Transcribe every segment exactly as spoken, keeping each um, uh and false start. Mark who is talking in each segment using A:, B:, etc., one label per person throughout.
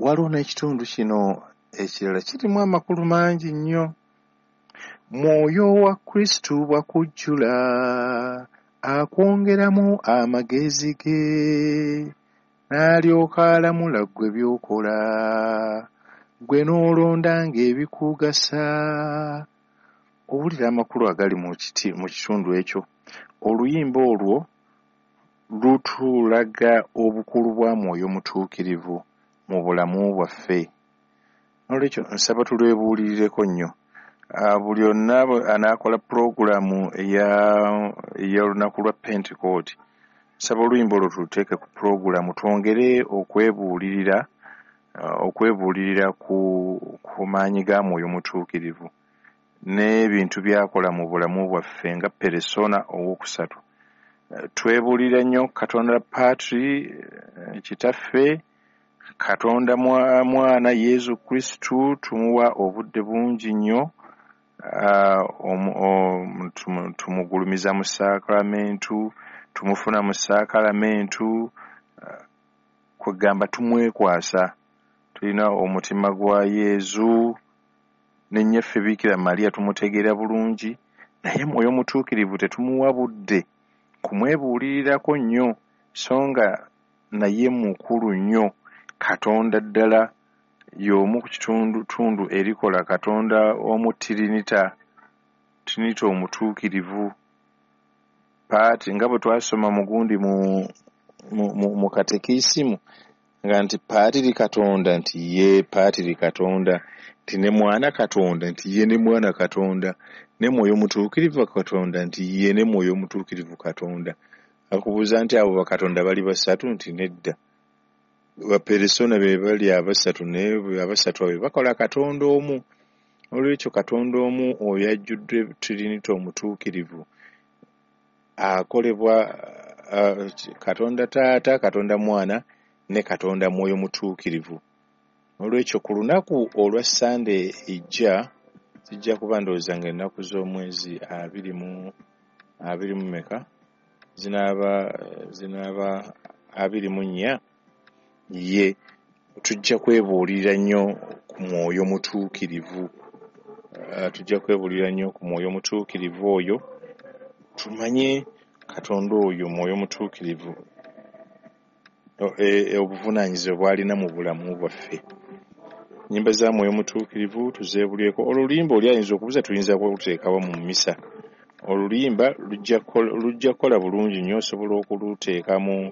A: Waliwo n'ekitundu kino ekirala kirimu amakulu mangi nnyo. Mwoyo wa Kristo bw'akujjula, akwongeramu amagezi ge, n'alyoka alamula ggwe by'okola, ggwe n'olondanga ebikugasa. Owulira amakulu agali mu kiti mu kitundu ekyo. Oluyimba olwo lutulaga obukulu bwa Mwoyo Mutuukirivu mu bulamu bwaffe. Noolwekyo nsaba tulwebuulirireko nnyo. Uh, buli onna anaakola pulogulaamu ey'olunaku lwa Pentekooti, nsaba oluyimba olwo tuluteeke ku pulogulaamu twongere okwebuulirira uh, okwebuulirira ku, ku maanyi ga Mwoyo Mutuukirivu n'ebintu by'akola mu bulamu bwaffe nga peresona owookusatu. Uh, twebuulira nnyo Katonda Patri, Kitaffe, Katonda Mwana Yesu Kristu, tumuwa obudde bungi nnyo. Uh, tumugulumiza mu saakalamentu, tumufuna mu saakalamentu, uh, kwegamba tumwekwasa. Tulina omutima gwa Yezu ne nnyaffe Biikira Maria tumutegeera bulungi, naye Mwoyo Mutuukirivu tetumuwa budde kumwebuulirirako nnyo, so nga naye mukulu nnyo. Katonda ddala y'omu ku kitundutundu erikola Katonda omu Tirinita, Tirinita omutuukirivu. Paati nga bwe twasoma mu gundi mu, mu, mu, mu katekisimu nga nti Paatiri Katonda nti ye Paatiri Katonda, nti ne Mwana Katonda nti ye ne Mwana Katonda, ne Mwoyo Mutuukirivu Katonda nti ye ne Mwoyo Mutuukirivu Katonda. Akubuuza nti abo bakatonda bali basatu nti nedda. Baperesona be bali abasatu, naye abasatu abo bakola Katonda omu. Olwekyo Katonda omu oyo ajjudde Tirinita omutuukirivu akolebwa uh, Katonda Taata, Katonda Mwana ne Katonda Mwoyo Mutuukirivu. Olwekyo ku lunaku olwa Ssande ejja, zijja kuba ndowooza ng'ennaku z'omwezi abiri mu abiri mu meka zinaaba zinaaba abiri mu nnya, ye tujja kwebuulirira nnyo ku Mwoyo Mutuukirivu. Uh, tujja kwebuulirira nnyo ku Mwoyo Mutuukirivu oyo, tumanye Katonda oyo Mwoyo Mutuukirivu obuvunaanyizibwa bw'alina mu bulamu bwaffe. Nnyimba za Mwoyo Mutuukirivu tuzeebulyeko. Oluyimba oli ayinza okubuuza tuyinza kuluteekawo mu mmisa. Oluyimba lujja kukola bulungi nnyo, osobola okuluteeka mu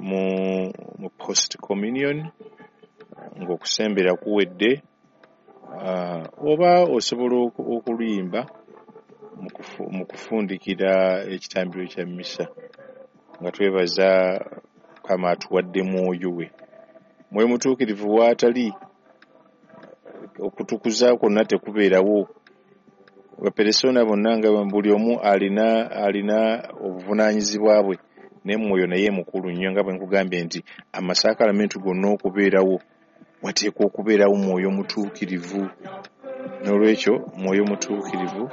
A: mu mu post communion ng'okusembera kuwedde, uh, oba osobola okuluyimba mu kufundikira ekitambiro kya mmisa nga twebaza Mukama atuwadde Mwoyo we. Mwoyo Mutuukirivu w'atali okutukuza kwonna tekubeerawo. Baperesona bonna nga buli omu alina alina obuvunaanyizibwa bwe, ne Mwoyo naye mukulu nnyo, nga bwe nkugambye nti amasaakalamentu gonna okubeerawo wateekwa okubeerawo Mwoyo Mutuukirivu. N'olwekyo Mwoyo Mutuukirivu